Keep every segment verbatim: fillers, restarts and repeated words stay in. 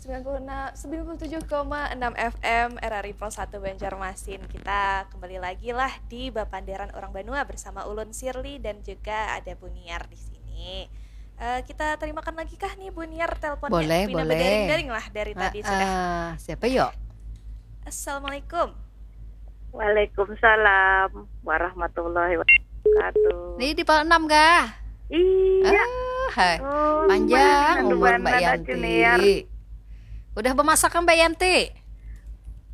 sembilan puluh enam, sembilan puluh tujuh koma enam F M R R I Pol satu Banjarmasin. Kita kembali lagi lah di Bapandaran Orang Banua bersama ulun Sirli dan juga ada Bu Niar di sini. Eh, kita terimakan lagi kah nih Bu Niar teleponnya? Boleh, Pina boleh. Badaring-daring lah dari tadi sudah. Ah, siapa yo? Assalamualaikum. Waalaikumsalam warahmatullahi wabarakatuh. Ini di Pal enam kah? Iya. Ah, hai. Oh, Panjang lumayan umur anu Mbak banget, Yanti. Junior. Udah bemasak kan Mbak Yanti?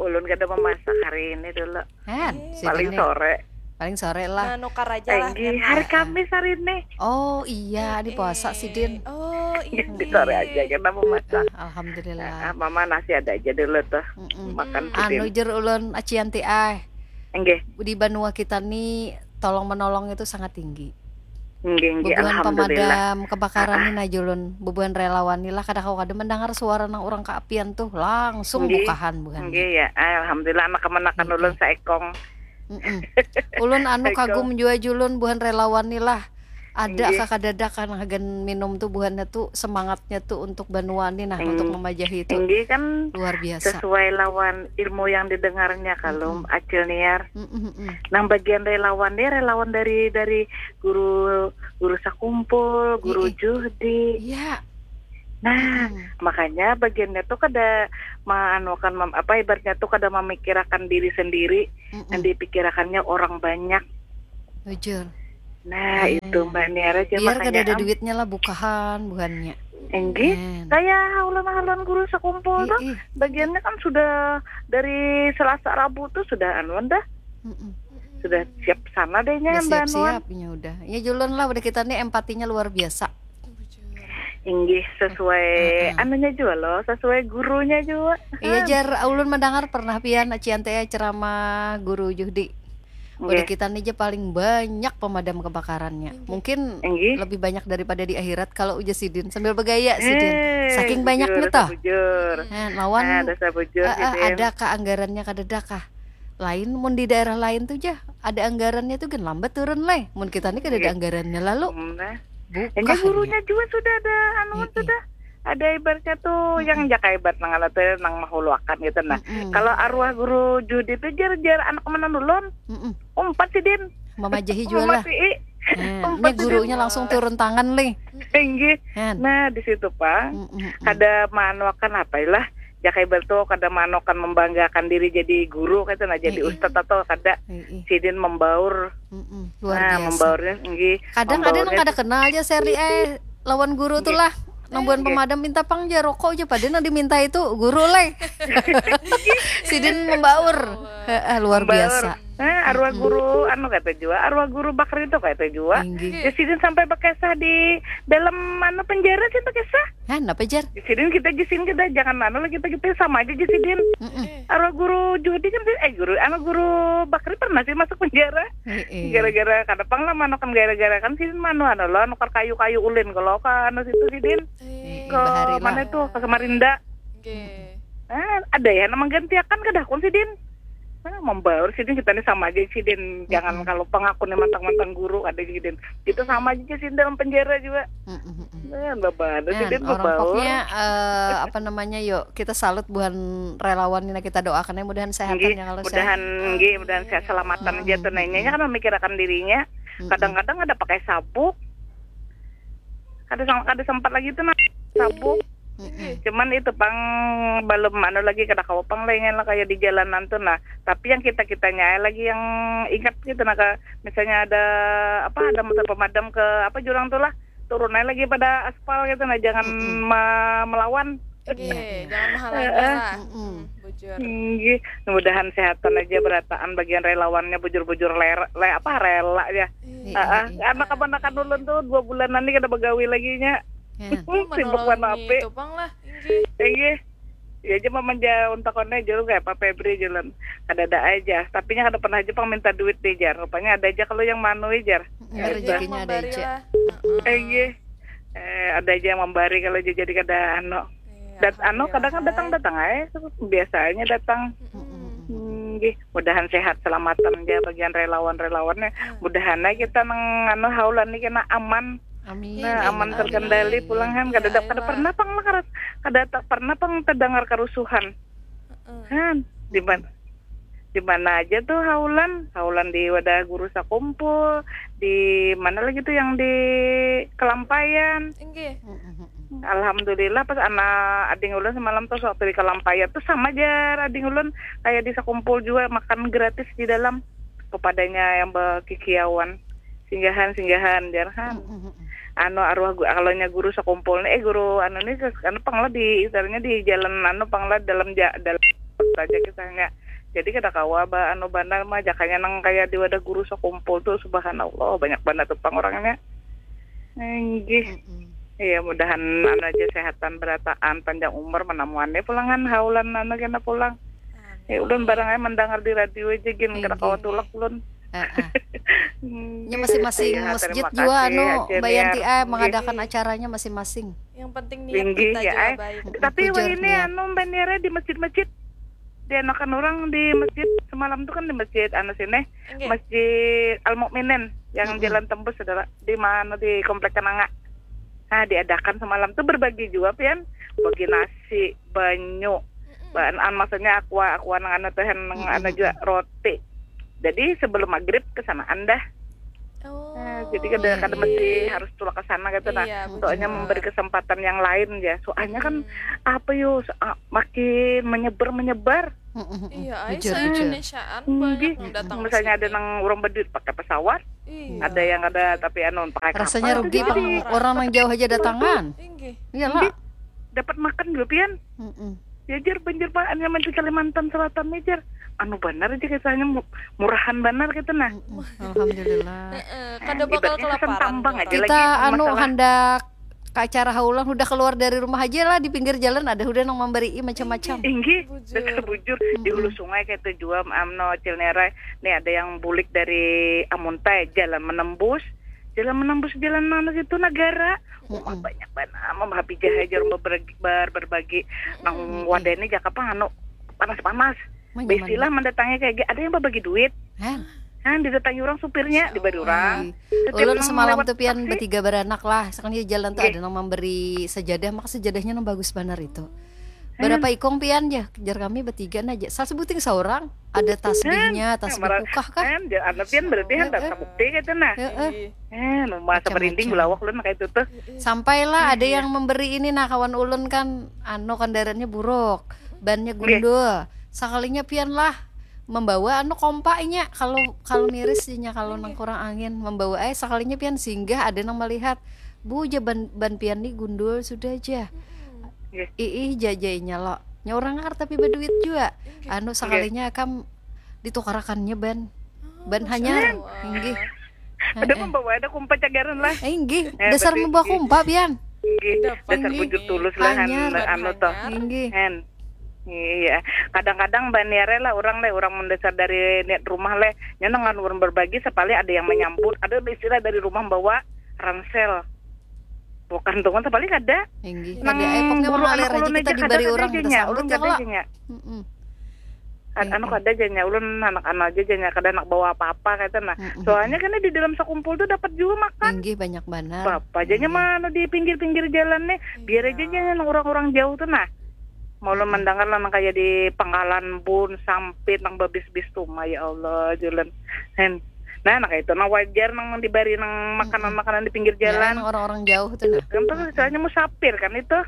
Ulun kada memasak hari ini dulu. Kan, Eh. si Paling ini. Sore. Paling sore lah. Menukar aja lah. Enggih, Karena hari Ah, ah. Kamis hari ini. Oh iya, di puasa sidin. Oh iya. Di sore aja kita memasak. Ah, alhamdulillah. Ah, mama nasi ada aja dulu tuh. Mm-mm. Makan Anu sidin. jer ulun Aci Yanti ai. Enggih, Di banua kita nih tolong menolong itu sangat tinggi. enggih, enggih. Bubuhan Alhamdulillah. pemadam kebakaran nih nah julun, bubuhan relawan nih lah, kada kawa kada mendengar suara nang orang keapian tuh langsung Enggih. bukahan buhan. Enggih ya. Ah, alhamdulillah anak kemanakan Iya. Ulun saekong. Mm-mm. Ulun anu Saekong. Kagum jua julun buhan relawan nih lah. Ada Enggih. kakadadak kan hagan minum tuh buhannya tuh semangatnya tuh untuk banua nih nah, untuk Eng- memajahi itu Enggih kan luar biasa. Sesuai lawan ilmu yang didengarnya kalau Mm-mm. Acil Niar. Mm-mm-mm. Nang bagian relawan nih relawan dari dari guru guru sakumpul, guru Ii. Juhdi. Iya. Nah, Mm-mm. makanya bagiannya tuh kada menganukan mem- apa ibaratnya tuh kada memikirakan diri sendiri, yang Mm-mm. dipikirakannya orang banyak. Bujur. Nah, Eh, itu Mbak Niar aja Biar kada makanya ada am. duitnya lah bukahan buhannya. Enggih, Kan. Kayak ulun-ulun guru sakumpul tuh, Ih, ih. Bagiannya kan sudah dari Selasa Rabu tuh sudah anuan dah. Mm-mm. Sudah siap sana deh Udah nya Mbak Nuan. Siap-siap ya udah. Ya julun lah udah kita nih empatinya luar biasa. Inggih sesuai Heeh. Anunya juga loh, sesuai gurunya juga. Iya jar, ulun mendengar pernah pian Cian teh ceramah guru Juhdi. Udah Nggih. Kita nih aja paling banyak pemadam kebakarannya. Inggih. Mungkin Inggih. Lebih banyak daripada di akhirat kalau ujar sidin sambil bergaya sidin. Eh, Saking bujur, banyaknya toh. Bujur. Nah, lawan Nah, dasar bujur eh, eh, sidin. Adakah anggarannya kada adakah? Lain mun di daerah lain tuh jah ada anggarannya tuh gen lambat turun leh. Mun kita nih kada ada Nggih. Anggarannya lalu Hmm, nah. Bukah Ini gurunya nya. Juga sudah ada anu Heeh. Sudah ada ibaratnya tuh Mm-mm. Yang jaka ibarat nang anu tuh nang mahuluakan gitu nah. Mm-mm. Kalau arwah guru Judi tuh jar jar anak mana dulun. Mm-mm. Umpat sidin. Memajahi juga lah. Mematii. Nah, Umpat ini gurunya sidin. Langsung turun tangan leh. Inggih. Kan. Nah, di situ pang Mm-mm. Kada maanuakan apa lah. Jaka ibarat tuh kada maanuakan membanggakan diri jadi guru kaitu nah, jadi Heeh. Ustad atau kada. Heeh. Sidin membaur. Mm-mm. Luar Nah, biasa. Membaurnya inggih. Kadang ada nang Membaurnya kada kenal aja Sherly eh lawan guru tuh lah. Nang buhan Inggih. Pemadam minta pang ja rokok aja pada nang diminta itu guru leh. Sidin membaur. Heeh, luar Membaur. Biasa. Eh, arwah Mm-mm. Guru anu kata jua, arwah Guru Bakri itu kata jua. Inggih. Ya sidin sampai bakisah di dalam anu penjara sih bakisah. Hah, napa jar? Di sidin kita di sini kita jangan anu lah kita kita sama aja di sidin. Mm-mm. Arwah Guru Juhdi kan eh guru anu Guru Bakri pernah sih masuk penjara. Heeh. Gara-gara kada pang lah manokan gara-gara kan sidin manu anu lah nukar kayu-kayu ulin kalau ke anu situ sidin Heeh, ke bahari lah. Mana itu ke Samarinda. Oke. Ah, ada ya nama gantiakan kada kun sidin. Ah, membaur sidin kita nih sama aja sidin. Jangan Mm-mm. Kalau pengaku nih mantang-mantang guru ada sidin. Kita sama aja sidin dalam penjara juga. Mm-mm, mm-mm. Nah, babada Nah, sidin orang membaur. Pokoknya eh, apa namanya yuk kita salut buhan relawan ini kita doakan ya mudahan sehat Nggih, ya kalau mudahan sehat. nggih mudahan sehat selamatan aja tuh nanya kan memikirkan dirinya. Mm-mm. Kadang-kadang ada pakai sabuk. Kada sang- kada sempat lagi tuh nah sabuk. Mm-mm. Cuman itu pang belum anu lagi kada kawa pang lengan lah kayak di jalanan tuh nah. Tapi yang kita kitanya lagi yang ingat gitu nah ke, misalnya ada apa ada motor pemadam ke apa jurang tuh lah turun aja lagi pada aspal gitu nah jangan Mm-mm. ma- melawan. Oke, jangan menghalangi Heeh. lah. Mm-mm. Hmm, bujur. Inggih, mudahan sehatan aja berataan bagian relawannya bujur-bujur ler, le, apa rela ya. Iya. Iya, Heeh, iya. Karena kapan-kapan ulun tuh dua bulanan nih kada begawi lagi nya. Ya. Oh, Sibuk menolongi warna api. Itu pang lah. Inggih. Inggih. Ya aja mamanja untakonnya julu kayak apa Febri jalan. Kada ada aja. Tapi nya kada pernah aja pang minta duit deh jar. Rupanya ada aja kalau yang manui jar. Ya, Ada yang rezekinya ada memberi aja. Lah. Heeh. Inggih. Eh, ada aja yang memberi kalau aja jadi kada anu. Iya, Dat anu kadang kan alhamdulillah. Datang-datang aja biasanya datang. Mm-mm. Hmm, nggih. Mudahan sehat selamatan aja bagian relawan-relawannya. Mudahan aja kita nang anu haulan nih kena aman. Amin. Nah, aman terkendali pulang kan, kada kada pernah pang lah kada tak pernah pang terdengar kerusuhan. Kan di mana di mana aja tuh haulan, haulan di wadah guru sakumpul, di mana lagi tuh yang di Kelampayan. Inggih. Alhamdulillah pas anak ading ulun semalam tuh waktu di Kelampayan tuh sama jar ading ulun kayak di sakumpul juga makan gratis di dalam kepadanya yang bekikiawan singgahan singgahan jar kan. Anu arwah gu- kalau nya guru sakumpul nih eh guru anu nih anu pang lah di istilahnya di jalan anu pang lah dalam ja, dalam saja kisahnya. Jadi kada kawa ba anu banar mah jakanya nang kaya di wadah guru sakumpul tuh subhanallah banyak banar tuh pang orangnya. Inggih. Iya mudahan anu aja sehatan berataan panjang umur menamuan deh pulangan haulan anu kena pulang. Ya ulun barang aja mendengar di radio aja gin kada kawa tulak ulun. Nya masing-masing masjid jua anu Mbak Yanti ay mengadakan acaranya masing-masing. Yang penting niat kita jua baik. Tapi wah ini anu Mbak Nira di masjid-masjid dianakan orang di masjid semalam tuh kan di masjid anu sini masjid Al Mukminin yang jalan tembus saudara di mana di komplek Kenanga. Nah diadakan semalam tuh berbagi jua pian bagi nasi banyu bahan an maksudnya aqua aqua nang anu teh nang anu juga roti jadi sebelum maghrib kesanaan dah oh, nah, jadi kada kada mesti harus tulak ke sana gitu nah iya, soalnya memberi kesempatan yang lain ya soalnya kan apa yo makin menyebar menyebar Iya, ay, Bujur, bujur. Indonesiaan banyak yang datang ke Misalnya ada sini. Nang orang berduit pakai pesawat, Iya. ada yang ada tapi anu pakai Rasanya kapal. Rugi pang orang nang jauh aja datangan. Inggih. Iyalah. Dapat makan juga pian. Mm-mm. Ya jar banjir pak hanya di Kalimantan Selatan nih jar. Anu benar aja katanya mu- murahan benar gitu nah. Alhamdulillah. Eh, kada bakal Ibaratnya kesan kelaparan. tambang aja Kita lagi. Anu Masalah- handak ke acara haulan udah keluar dari rumah aja lah di pinggir jalan ada udah nang memberi macam-macam. Inggih, dasar bujur di hulu sungai kayak itu jua amno cilnera nih ada yang bulik dari Amuntai jalan menembus jalan menembus jalan mana gitu negara wah banyak banget mama happy jahe jarum berbagi bar berbagi nang wadah ini jaka pang anu panas-panas bestilah mendatangi kayak ada yang berbagi duit Hah? Nah, didatangi orang supirnya, dibari orang. Ulun semalam tuh pian betiga beranak lah, sekalinya jalan tuh ada nang memberi sejadah, maka sejadahnya nang bagus banar itu. Berapa ikong pian ya? Jar kami betiga aja. Salah sebuting seorang, ada tasbihnya, tasbih kukah kah? Kan, jar anak pian berarti kan tak bukti gitu nah. Heeh. Eh, masa merinding belawak ulun kayak itu tuh. Sampailah ada yang memberi ini nah kawan ulun kan, anu kendaraannya buruk, bannya gundul. Sekalinya pian lah membawa anu kompa inya kalau kalau miris inya kalau nang kurang angin membawa eh sekalinya pian singgah ada nang melihat bu ja ban, ban pian ni gundul sudah ja iih ja ja inya lo nya orang ngar tapi baduit jua anu sekalinya kam ditukarakannya ban ban hanyar inggih ada membawa ada kumpa cagaran lah inggih dasar membawa kumpa pian inggih dasar bujur tulus lah anu toh inggih Iya, kadang-kadang baniare lah orang leh, orang mendesar dari niat rumah leh, nyeneng kan orang berbagi, sekali ada yang menyambut, ada istilah dari rumah bawa ransel, bukan tuh kan sekali kada. Inggih, kada, eh, pokoknya mengalir aja kita diberi orang kita sambut ya kak. Anu kada aja nya, ulun anak anu aja aja nya, kada anak bawa apa-apa kata nah. Soalnya kan di dalam sekumpul tuh dapat juga makan. Inggih, banyak banar. Apa aja nya mana di pinggir-pinggir jalan nih, biar aja nya orang-orang jauh tuh nah. Mau lo mendengar lah nang kaya di Pangkalan Bun, Sampit, nang babis-bis tuh, ya Allah, jalan. Hen. Nah, nang itu nang wajar nang dibari nang makanan-makanan di pinggir jalan. Ya, orang-orang jauh tuh nah. Kan tuh misalnya musafir kan itu.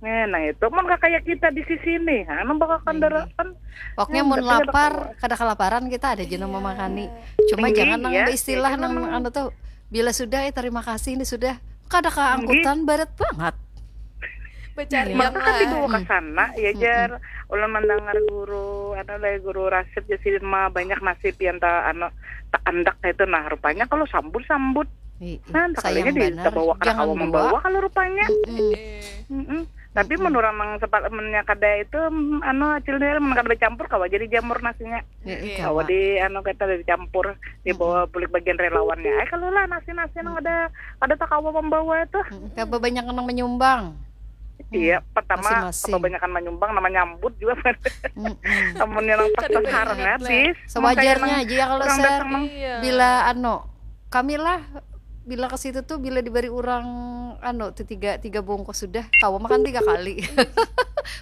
Nah, nah itu mun kakaya kita di sisi nih, anu bakal kendaraan. Pokoknya mun lapar, kada kelaparan kita ada jeneng memakani. Cuma jangan nang istilah nang anu tuh bila sudah ya terima kasih ini sudah kada keangkutan barat banget. Becarian Maka kan lah. Dibawa ke sana, ya jar. Ulun mendengar guru, anu lah guru Rasid ya sidin mah banyak nasib yang tak anu tak andak itu nah rupanya kalau sambut sambut. Nah, sekalinya di bawa ke kawa membawa kalau rupanya. Mm -mm. Tapi menurut nang sepat mennya kada itu anu acil dia menang kada bercampur kawa jadi jamur nasinya. Kawa di anu kita dari campur dibawa bulik bagian relawannya. Ay kalau lah nasi nasi nang ada ada takawa membawa itu. Kawa banyak nang menyumbang. Iya, pertama kebanyakan menyumbang nama nyambut juga. Amun yang pas sasaran habis. Sewajarnya aja ya kalau saya iya. Bila anu kami lah bila ke situ tuh, bila diberi orang anu tuh tiga tiga bungkus sudah, kawa makan tiga kali.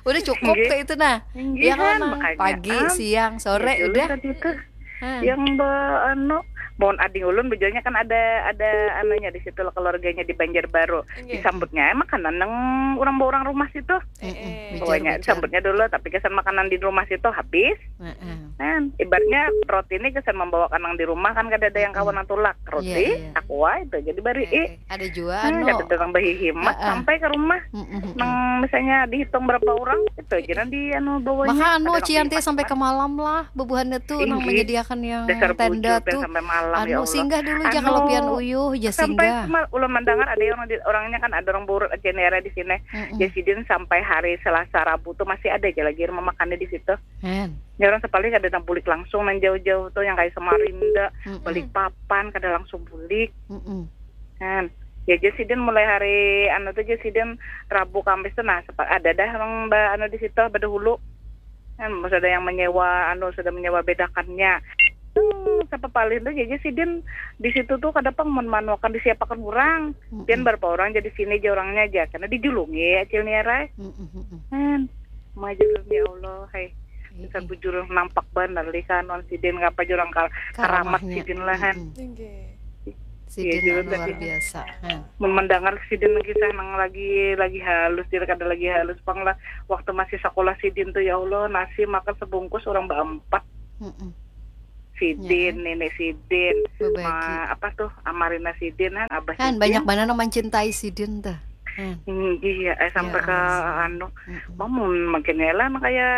Udah cukup Nggih. Kayak itu nah. Nggih, Ya kan, kan, Mang? Makanya, Pagi, am, siang, sore, ya, dulu udah. Tadi tuh Hmm. yang be anu, mohon ading ulun bejanya kan ada ada anunya di situ lah, keluarganya di Banjarbaru. Nggih. Disambutnya makanan nang orang orang rumah situ. Eh, eh. Bijar, Pokoknya bijar. Disambutnya dulu, tapi kesan makanan di rumah situ habis. Heeh. Kan ibaratnya roti ini kesan membawakan nang di rumah kan kada ada yang Mm-mm. kawan nang tulak. Roti, Iya, iya. aqua itu jadi bari Eh, eh. Ada juga Hmm, anu. Kada datang berhihimat Heeh. Sampai ke rumah. Mm-mm. Nang misalnya dihitung berapa orang itu aja nang di anu bawanya. Maka anu Ada nang Cianti dihimat. Sampai ke malam lah bubuhannya tuh Ih, nang nggih. menyediakan yang Dasar tenda bujur, tuh. Sampai malam, ya Anu Allah. Singgah dulu aja Anu, kalau pian uyuh aja Sampai singgah. Semal, ulun mendengar ada yang orang di, orangnya kan ada orang buruk aja nih di sini. Mm-mm. Ya sidin sampai hari Selasa Rabu tuh masih ada aja lagi rumah makannya di situ. Hen. Ya orang sepaling ada nang bulik langsung nang jauh-jauh tuh yang kayak Samarinda, Mm-mm. Balikpapan kada langsung bulik. Mm-mm. Kan. Ya jadi sidin mulai hari anu tuh jadi sidin Rabu Kamis tuh nah sepa- ada dah orang ba, anu di situ badahulu. Kan sudah yang menyewa anu sudah menyewa bedakannya. Hmm, siapa paling tuh jadi sidin di situ tuh kada pang mun manuakan disiapakan orang. Mm-mm. Pian berapa orang jadi sini aja orangnya aja karena dijulungi acil niarai. Mm-mm, mm-mm. Kan. Maju ya Allah, hai. Iya, Bisa iya. Bujur nampak banar lih kanuan sidin ngapa jurang kar karamat Karamahnya. Sidin lah kan. Mm-mm. Nggih. Sidin Iya, yang juga luar sih. Biasa. Hen. Mun mendengar sidin kisah nang lagi lagi halus, dia kada lagi halus pang lah. Waktu masih sekolah sidin tuh ya Allah, nasi makan sebungkus orang berempat. Mm-mm. Sidin, Ya. Nenek sidin, Berbagi. ma, apa tuh, Amarina sidin, kan, Abah Kan sidin. Banyak banget nang mencintai sidin tuh. Hen. Hmm, iya, eh, sampai Ya, ke Allah. Anu, Mm-mm. mamun makin lah kayak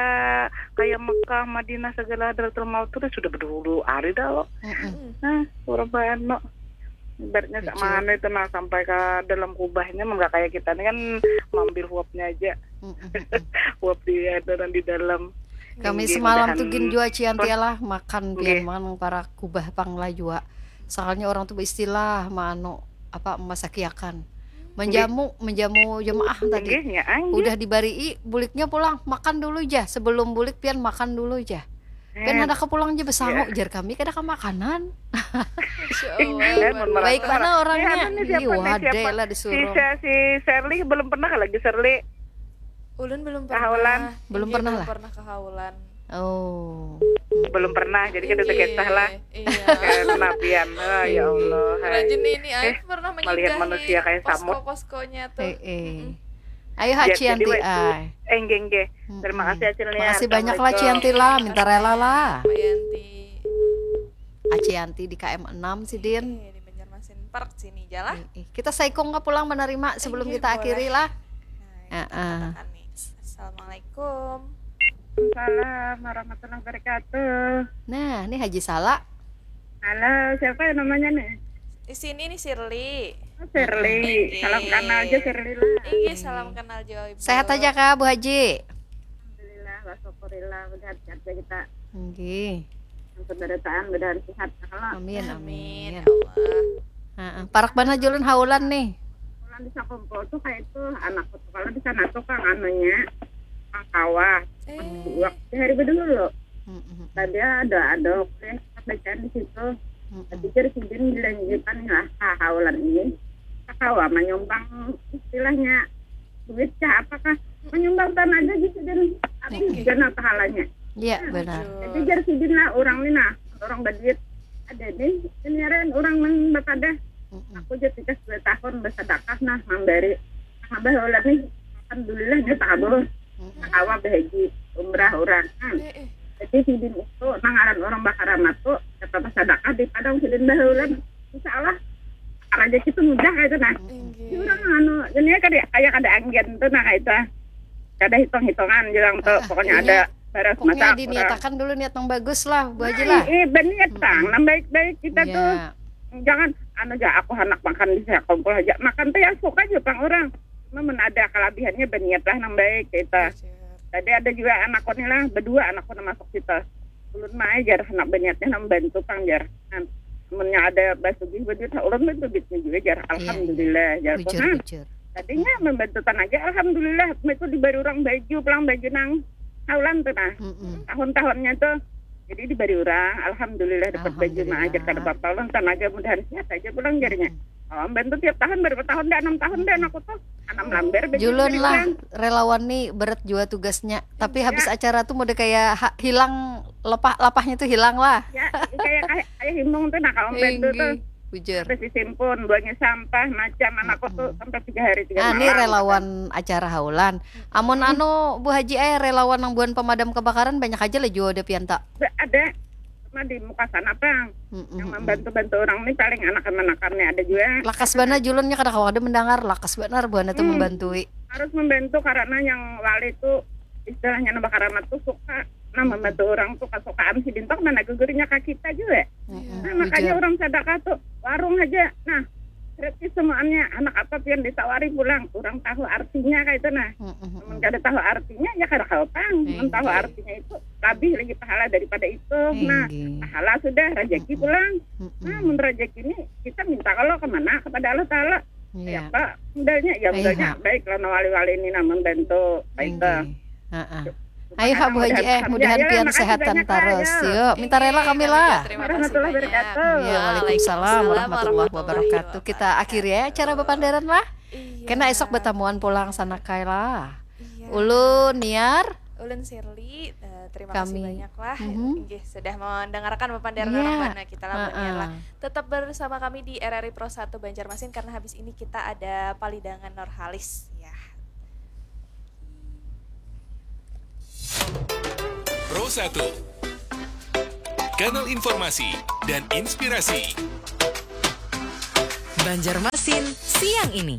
kayak Mekah, Madinah segala Hadratul Maut tuh sudah berdulu hari dah loh. Mm-mm. Mm. Nah, orang anu ibaratnya Bujur. Sama anu itu nah sampai ke dalam kubahnya mun nggak kayak kita ini kan mambil huapnya aja. Mm-mm, mm-mm. Huap di ada di dalam. Kami Tinggi semalam tuh mudahan gin jua Cianti Terus, lah makan nggih. Pian manang para kubah pang lah jua. Soalnya orang tuh beristilah manu apa memasakiakan. Menjamu menjamu jemaah tadi. Nggih, ya, ah, nggih. Udah dibarii buliknya pulang makan dulu ja. Sebelum bulik pian makan dulu ja. Pian Eh, kada ke pulang ja besangu ya. Jar kami kada ke makanan. Masya Eh, Allah. mun merasa Baik mana orangnya. Eh, anu nih, siapa Iya, nih, ada siapa? lah Si, disuruh. si, si Sherly belum pernah lagi Sherly. Ulun belum Kahulan. Pernah. Belum Iya, pernah belum lah. Pernah kahulan. Oh. Belum pernah, jadi kita Iya, terkisah lah. Iya. Karena pian, oh, ya Allah. Hai. Rajin ini, Eh, aku pernah melihat menyinggahi manusia kayak samut. Posko-poskonya tuh. Eh, eh. Mm-mm. Ayo Ya, Haji jadi, Anti wes. ay. Eh, nggih, nggih. Mm-mm. Terima kasih Acil Nia. Makasih banyak lah Ci Assalamualaikum. Anti lah, minta rela lah. Mbak Yanti. Aci Anti di K M enam sidin. Eh, di Banjarmasin Park sini aja lah. Eh, eh. Kita saikung ke pulang menerima sebelum Iya, kita boleh. akhiri lah. Nah, Heeh. katakan nih. Assalamualaikum. Waalaikumsalam warahmatullahi wabarakatuh. Nah, ini Haji Sala. Halo, siapa yang namanya nih? Di sini nih Sirli. Oh, Sherly. Inggih. Salam kenal aja Sherly lah. Iya, salam kenal jauh Ibu. Sehat aja kah Bu Haji? Alhamdulillah, wa syukurillah, mudahan sehat ya kita. Nggih. Yang penderitaan mudahan sehat ya kalau. Amin, Amin, amin. ya Allah. Heeh. Parak mana julun haulan nih? Pulang di Sakumpul tuh kayak itu anakku tuh kalau di sana tuh kang anunya kang kawah Eh, waktu hari bedulu. Mm-mm. Tadi ada ada kuliah bacaan di situ. Mm-mm. Tapi jadi sidin dilanjutkan lah haulan ini. Kakawa menyumbang istilahnya duit kah apakah menyumbang tenaga gitu dan apa Tinggi. Gana pahalanya. Iya, benar. Jadi jar sidin lah orang ni nah orang baduit ada nih kenyarian orang nang batadah. Mm-mm. Aku jadi tikas dua tahun bersedekah nah memberi tambah ulah nih alhamdulillah dia takabul Mm-mm. kawa berhaji umrah orang. Hmm. Eh, eh. Jadi sidin itu nangaran orang bakaramat tuh kata bersedekah di padang sidin bahulan. Insya Allah rezeki itu mudah kayak itu nah. Di Inggih. Orang anu ini kayak kayak kada anggen tuh nah kayak itu. Kada hitung-hitungan bilang tuh Ah, pokoknya iya. ada baras Pokoknya masak orang. Diniatakan dulu niat yang bagus lah, Bu Haji Nah, lah. eh berniat Mm-mm. bang, nang baik-baik kita tuh Iya. jangan anu aja aku anak makan di kumpul aja makan tuh ya suka aja bang orang cuma mun ada kelebihannya berniat lah nang baik kita Bujur. Tadi ada juga anakku nih lah, berdua anakku nang masuk situ. Ulun mah jar anak baniatnya nang bantu pang jar. Nah, munnya ada basugih baduit, ulun bantu duitnya juga jar. Iya, iya. Alhamdulillah jar. Bujur, Nah, bujur. tadinya membantu tanaga alhamdulillah. Itu diberi orang baju, pulang baju nang taulan tuh nah. Mm-mm. Tahun-tahunnya tuh. Jadi diberi orang, alhamdulillah dapat baju mah aja Alhamdulillah. Kada apa-apa ulun tanaga mudahan sehat aja pulang jarnya. Mm-mm. Kawa membantu tiap tahun, berapa tahun dah, enam tahun dah anakku tuh. Anak melambar baju Julun dari lah, orang. Relawan nih berat jua tugasnya. Tapi Iya. Habis acara tuh mode kayak ha- hilang lepah, lapahnya tuh hilang lah. Ya, kayak kayak kayak himbung tuh, nah, kawa membantu tuh. Tinggi. Bujur. Sampai sisimpun, buangnya sampah, macam anakku tuh sampai tiga hari tiga Ah, malam. Ini relawan acara haulan. Amun anu Bu Haji eh relawan yang buan pemadam kebakaran banyak aja lah jua ada pianta. Ada, ada. Cuma di muka sana, Pang. Mm-mm, Yang mm-mm. membantu-bantu orang nih paling anak-anakannya ada juga. Lakas bana julunnya kada kawa ada mendengar, lakas banar buana tuh Hmm. membantui. Harus membantu karena yang wali itu istilahnya nambah karamat tuh suka. Nah, membantu orang tuh kesukaan sidin tuh mana gugurnya ke kita juga. Mm-mm, Nah, makanya bujur. Orang sadakah tuh warung aja. Nah, gratis semuanya. Anak apa pian ditawari pulang, kurang tahu artinya kayak itu, nah. Mm-mm, Mun mm-mm. Kada tahu artinya, ya kada kawa pang. Mun tahu Tinggi. Artinya itu lebih lagi pahala daripada itu. Nah, Tinggi. Pahala sudah, rezeki Mm-mm. Pulang. Mm-mm. Nah, mun rezeki ini kita minta kalau kemana, kepada Allah Taala. Iya. Apa modalnya? Ya Iya, modalnya ha. Baik lah, wali-wali ini nah membantu. Baik. Tinggi. Heeh. Cukup Ayo ha anak Bu Haji mudahan eh paham. mudahan Ya, ya, pian makasih sehatan banyak, Kak, terus. ya. Yuk, minta rela kami lah. Terima kasih Warahmatullahi banyak. Wabarakatuh. Ya, waalaikumsalam warahmatullahi wabarakatuh. Kita akhiri ya acara bepandaran lah. Iya. Kena esok bertamuan pulang sana kai lah. Iya. Ulun Niar. Ulun Shirley, eh, terima kasih Kami. Banyak lah. Mhm. Inggih, sudah mendengarkan bepandaran Iya. Orang Bana kita lah Bu Niar lah. Heeh. Tetap bersama kami di R R I Pro satu Banjarmasin karena habis ini kita ada Palidangan Norhalis ya. Pro satu. Kanal informasi dan inspirasi. Banjarmasin siang ini.